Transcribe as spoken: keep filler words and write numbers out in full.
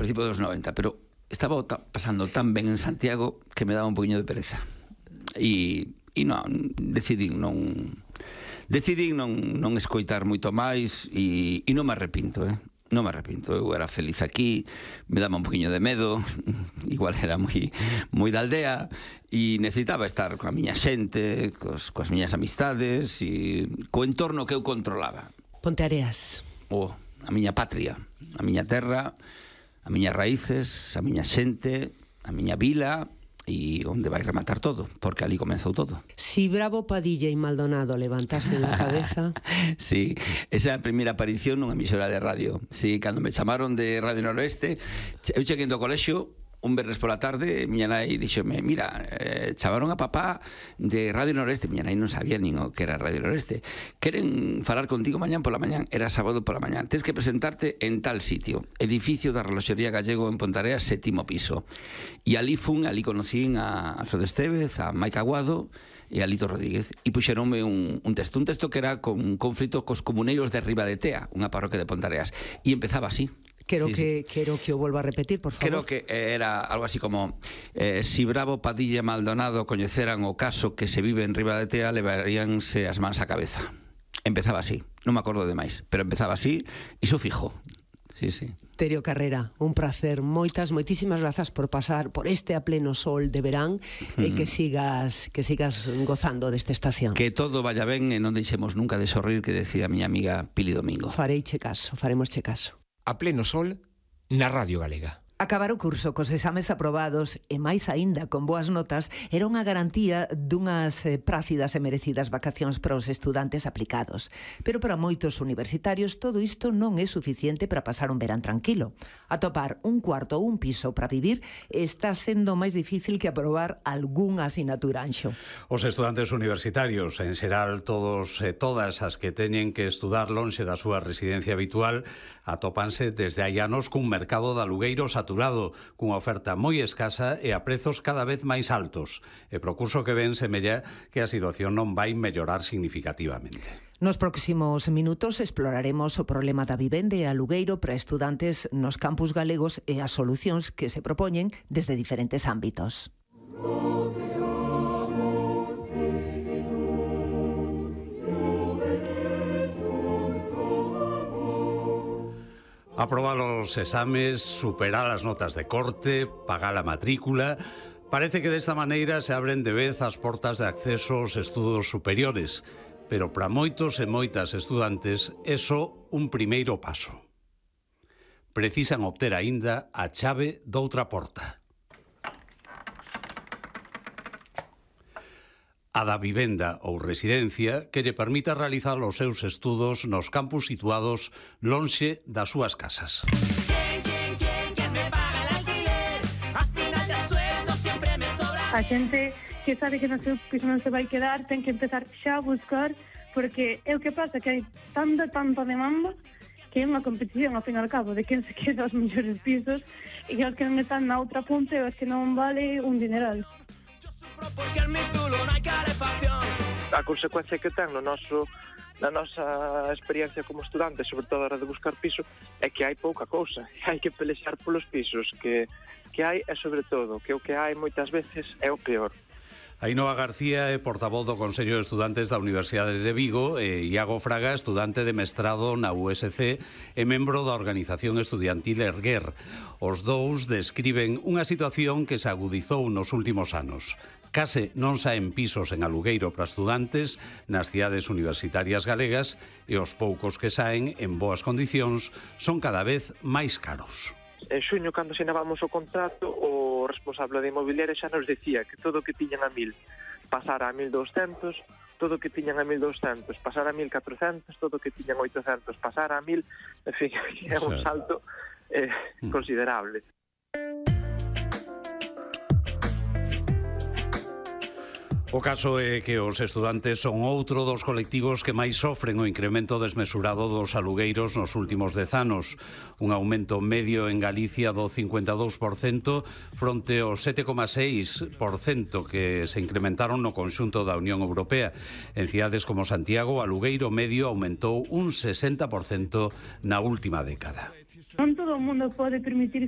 principio dos noventa, pero estaba pasando tan ben en Santiago que me daba un poquinho de pereza. E, e non, decidín non... Decidín non, non escoitar moito máis e, e non me arrepinto, eh? Non me arrepinto, eu era feliz aquí, me daba un poquinho de medo, igual era moi, moi da aldea, e necesitaba estar coa miña xente, cos, coas miñas amistades, e co entorno que eu controlaba. Ponteareas. Oh, a miña patria, a miña terra, as miñas raíces, a miña xente, a miña vila, e onde vai rematar todo, porque ali comezou todo. Si Bravo, Padilla e Maldonado levantasen a cabeza... Sí, esa é a primeira aparición nunha emisora de radio. Sí, cando me chamaron de Radio Noroeste, eu cheguei do colexio un verres pola tarde, miña nai díxome, mira, eh, chamaron a papá de Radio Noroeste. Miña nai non sabía nin o que era Radio Noroeste. Queren falar contigo mañán pola mañán. Era sábado pola mañán. Tens que presentarte en tal sitio, edificio da Reloxería Gallego en Ponteareas, sétimo piso. E ali fun, ali conocín a Alfredo Estévez, a Maica Aguado e a Lito Rodríguez, e puxeronme un, un texto, un texto que era con un conflito cos comuneiros de Ribadetea, unha parroquia de Ponteareas, e empezaba así. Quero sí, que sí. quero que o volva a repetir, por favor. Creo que era algo así como eh, si Bravo, Padilla e Maldonado coñeceran o caso que se vive en Ribadetea, levaríanse as mans á cabeza. Empezaba así, non me acordo de máis, pero empezaba así, e iso fijo. Sí, sí. Terio Carrera, un placer. Moitas, moitísimas grazas por pasar por este a pleno sol de verán mm. e que sigas que sigas gozando desta estación. Que todo vaya ben e non deixemos nunca de sorrir, que decía a miña amiga Pili Domingo. Fareiche caso, faremosche caso. A pleno sol na Radio Galega. Acabar o curso cos exames aprobados e máis aínda con boas notas era unha garantía dunhas eh, prácidas e merecidas vacacións para os estudantes aplicados. Pero para moitos universitarios todo isto non é suficiente para pasar un verán tranquilo. Atopar un cuarto ou un piso para vivir está sendo máis difícil que aprobar algunha asignatura, Anxo. Os estudantes universitarios, en xeral todos e todas as que teñen que estudar lonxe da súa residencia habitual, atópanse desde hai anos cun mercado de alugueiro saturado, cunha oferta moi escasa e a prezos cada vez máis altos. E pro curso que ven semella que a situación non vai mellorar significativamente. Nos próximos minutos exploraremos o problema da vivenda e alugueiro para estudantes nos campus galegos e as solucións que se propoñen desde diferentes ámbitos. Aprobar os exames, superar as notas de corte, pagar a matrícula... Parece que desta maneira se abren de vez as portas de acceso aos estudos superiores, pero para moitos e moitas estudantes é só un primeiro paso. Precisan obter aínda a chave doutra porta. A da vivenda ou residencia que lle permita realizar os seus estudos nos campus situados lonxe das súas casas. A xente que sabe que no seu piso non se vai quedar ten que empezar xa a buscar, porque é o que pasa, que hai tanta, tanta demanda que é unha competición, ao fin e ao cabo, de quen se queda os mellores pisos, e os que non están na outra punta e os que non vale un dineral. A consecuencia que ten no noso, na nosa experiencia como estudante, sobre todo a hora de buscar piso, é que hai pouca cousa, hai que pelexar polos pisos que, que hai, e sobre todo, que o que hai moitas veces é o peor. Ainhoa García é portavoz do Consello de Estudantes da Universidade de Vigo e Iago Fraga, estudante de mestrado na U S C e membro da organización estudiantil Erguer. Os dous describen unha situación que se agudizou nos últimos anos. Case non saen pisos en alugueiro para estudantes nas cidades universitarias galegas e os poucos que saen en boas condicións son cada vez máis caros. En xuño, cando asinábamos o contrato, o responsable de inmobiliaria xa nos decía que todo o que tiñan a mil pasara a mil douscentos, todo o que tiñan a mil douscentos pasara a mil catrocentos, todo o que tiñan oitocentos pasara a mil, en fin, é un salto eh, considerable. O caso é que os estudantes son outro dos colectivos que máis sofren o incremento desmesurado dos alugueiros nos últimos dez anos. Un aumento medio en Galicia do cincuenta e dous por cento fronte ao sete coma seis por cento que se incrementaron no conxunto da Unión Europea. En cidades como Santiago, o alugueiro medio aumentou un sesenta por cento na última década. Non todo o mundo pode permitirse